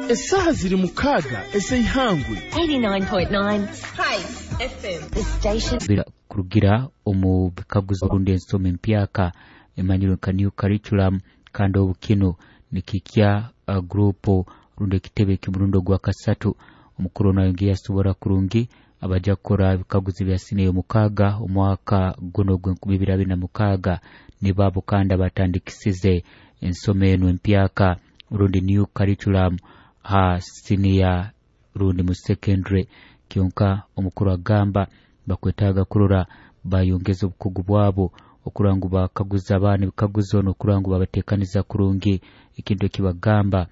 Esaha ziri 6 ez'eihangwe. 89.9 Spice FM. The station. Kurugira omu bikaguzo rundi ensoma empyaka emanyirwe nka new curriculum, kandi obu kino nikikya gurupu rundi ekitebe ky'omurundi ogwa kasatu. Omukuru ono ayongeye yasobora kurungi abaja kukora ebikaguzo bya siniya 6 omwaka guno gw'e2026 nibo kandi abatandikisize ensoma eno empyaka rundi new curriculum ha siniya rundi mu secondary. Kyonka omukuru agamba bakwetaaga kurora bayongeza obukugu bwabo okurora ngu bakaguza abaana ebikaguzo n'okurora ngu babateekaniza kurungi. Ekintu ekibagamba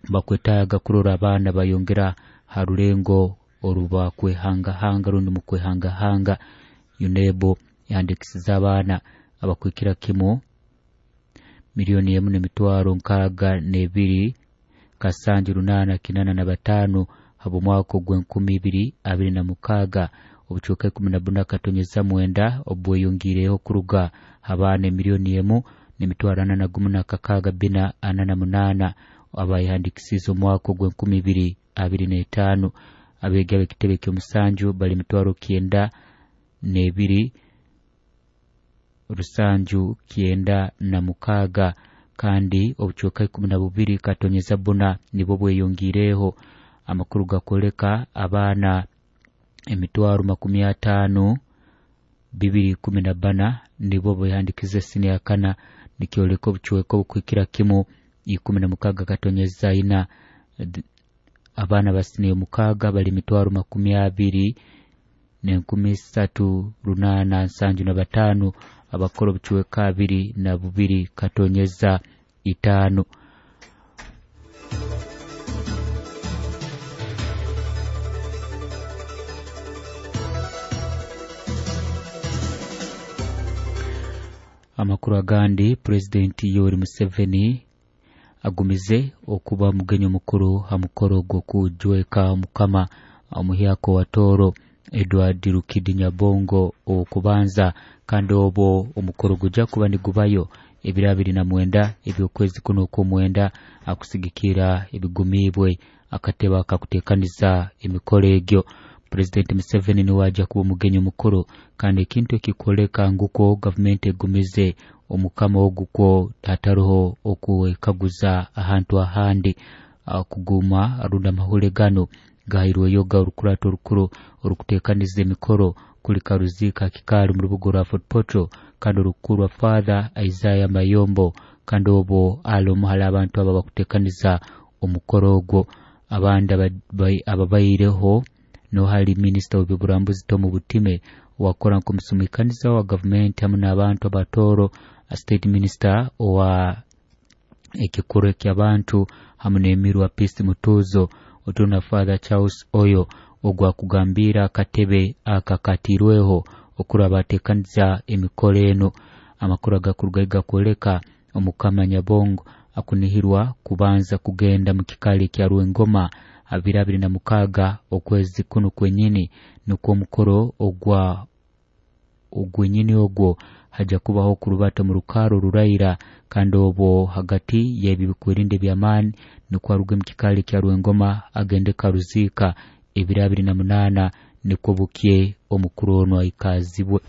bakwetaaga kurora abaana bayongera ha rulengo orubakwehangahanga rundi mu kwehangahanga. UNEB yandikisiza abaana abakwikira kimu 1,062,785 habw'omwaka ogw'e2026, obucweka 14.9 obweyongiireho kuruga abaana 1,416,448 abayehandikisize omwaka ogw'e2025. Abeegi ab'ekitebe ky'omusanju bali 92,796, kandi obucweka 12.4 nibwo bweyongiireho. Amakuru gakwoleka abaana 50,214 nibo behandikize siniya kana, nikyoleka obucweka obukwikira kimu 16.4. Abaana ba siniya 6 bali 20,875 abakora obucweka 22.5. Amakuru agandi, Pulezidenti Yoweri Museveni agumize okuba mugenyi omukuru ha mukoro gw'okujweka omukama omuhyaka wa Tooro Edward Rukidi Nyabongo okubanza, kandi obwo omukoro gujja kuba nigubayo ebiro 29 eby'okwezi kuno okw'omwenda, akusigikira ebigumiibwe akatebe akakuteekaniza emikoro egyo. Pulezidenti Museveni niwe ajja kuba omugenyi omukuru, kandi ekintu ekikwoleka ngukwo gavumenti egumize omukama ogu kwo hataroho okwekaguza ahantu ahandi. Kuguma rundi amahule gano gahairweyo ga orukurato orukuru orukuteekaniza emikoro kuli Karuzika Kikaali mu rubuga rwa Fort Portal, kandi orukuru rwa Father Isaiah Mayombo, kandi obwo ali omu hali abantu abo abakuteekaniza omukoro ogwo. Abandi ababaireho nohali minisita w'ebyoburambuzi Tom Butime wakora nk'omusumikaniza wa gavumenti hamu n'abantu abatooro, state minister owa ekikuru eky'abantu hamu n'emirwa Peace Mutuuzo, otuna Father Charles Oyo ogwakugambira akatebe akakatirweho okuraba bateekaniza emikoro eno. Amakuru agakuruga gakwoleka omukama Nyabongo akunihirwa kubanza kugenda mu kikaali kya Rwengoma 2026 okwezi kuno kwenyini, nukwo omukoro ogwa ogwenyini ogwo haja kubaho okurubata mu rukaro ruraira, kandi obwo hagati y'ebi bikwerinda eby'amaani nukwo aruge mu kikaali kya Rwengoma agende Karuziika ebiro 28, nukwo bukye omukuru ono aikazibwe.